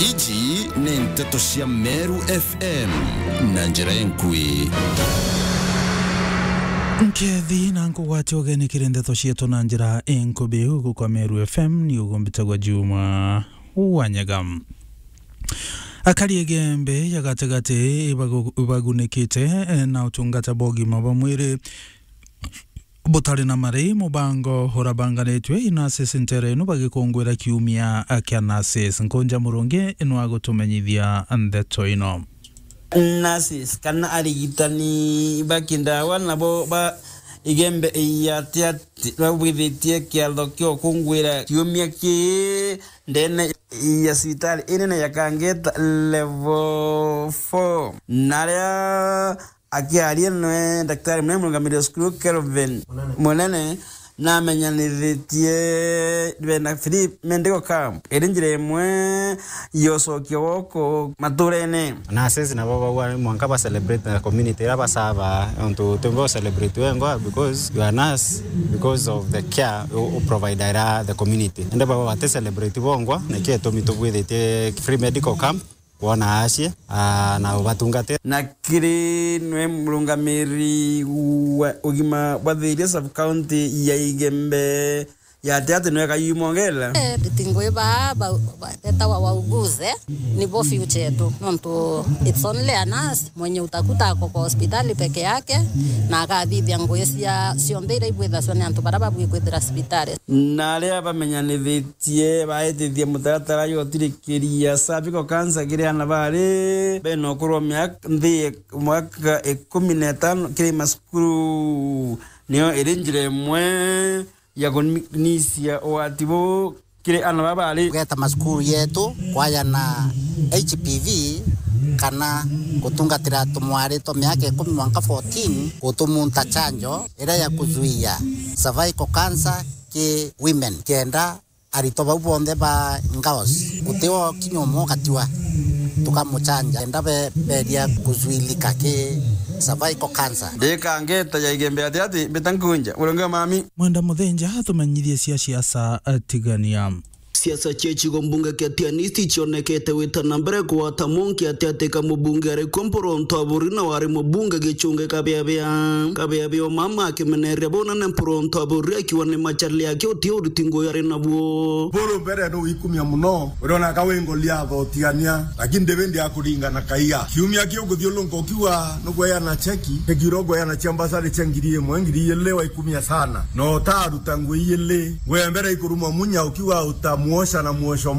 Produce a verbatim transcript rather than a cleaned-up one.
Iji ni nteto cia Meru F M na njira enkui. Nkethi na nkugwati ugeni kiri nteto cietu na njira enkubi ugu kwa Meru F M, ni ugumbitagwa Juma Wanyaga. Akari Igembe ya gatigati ibagu-, ibagunikite, eh, na utungata bwa ugima bwa mwiri butari na mari, mubango urabanganitwe i nurses ntere ino bagikungwira kiumia kia nurses. Nkunja Murungi ino agutumenyithia ndeto ino. Nurses kana arigitani ba kindawa nabo ba Igembe ya Tiati babwithitie kiatho kia ukungwira kiumia ki ndene ya cibitari inene ya Kangeta level four. Naria akiaria nwe Daktari Munene murungamiri wa cukuru Kelvin Munene namenyanithitie bena Philip Medical Camp iri njira imwe ya ucokia woko maturene. Nurses nabo bagwa mwanka ba celebrate na community ira basava, ontu tumbe celebrate wengwa because you are nurse, because of the care u, u provide ira the community. Ende baba bate celebrate bongwa, niki itumi tubwithitie free medical camp. Kwona acie, ah, na ubatungatira. Na kiri nwe murungamiri wa ugima bwa Thiria sub county ya Igembe ya Tiati nwe Kayumongela. Eh, ritingwi baa ba, ba, betawa wauguze, nibo future yetu. Nontu it's only a nurse mwenye utakuta ako kwa hospitali peke yake, na akathithia ngui cia cionthe iria ibwithaswa ni antu baria babui kwithira cibitari. Na aria bamenyanithitie baitithia mutaratara jwa utirikiria cervical cancer kiri ana bari bena ukuru wa miaka, nthi ya mwaka ikumi na itano kiri macukuru, niyo iri njira imwe ya kunisia ugwati buu kiri ana baba bari. Kugeta macukuru yetu kwajana H P V kana gutungatira tumwari twa miaka ikumi mwanka fourteen gutumunta chanjo iria ya kuzuia cervical cancer ki women, kenda aritwa bau bonthe ba girls, guti o kinya umwe ugatiwa, tukamuchanja, kenda be-, beria kuzuilika ki cervical cancer. Ndi Kangeta ya Igembe ya Tiati, mbita nkunja, Murungi wa mami. Mwenda Muthinja atumenyithie cia siasa atigania. Siasa cia gicigo mbunge kia Tianisti cionekete gwita na mbere kugwata monki atiatika mubunge ari kuo Mpuru Ntaburi na wari mubunge Gichunge Kabiabia. Kabiabia o mama akimeneria bunene Mpuru Ntaburi akiuga ni macharli yake uti uriti ngugi ari nabuo. Buru mbere ni wikumia muno, uriona ka wi ngoli ya thotiania, lakini David akuringana kaiga. Kiumia kiu nguthiurunka ukiuga nugweana cheki, cheki uro ngweana cia mbasari cia ngiri imwe, ngiri ijiri waikumia sana. No utaruta ngui ijiri, ngwe mbere ikurumwa munya ukiuga utamuosha na muosho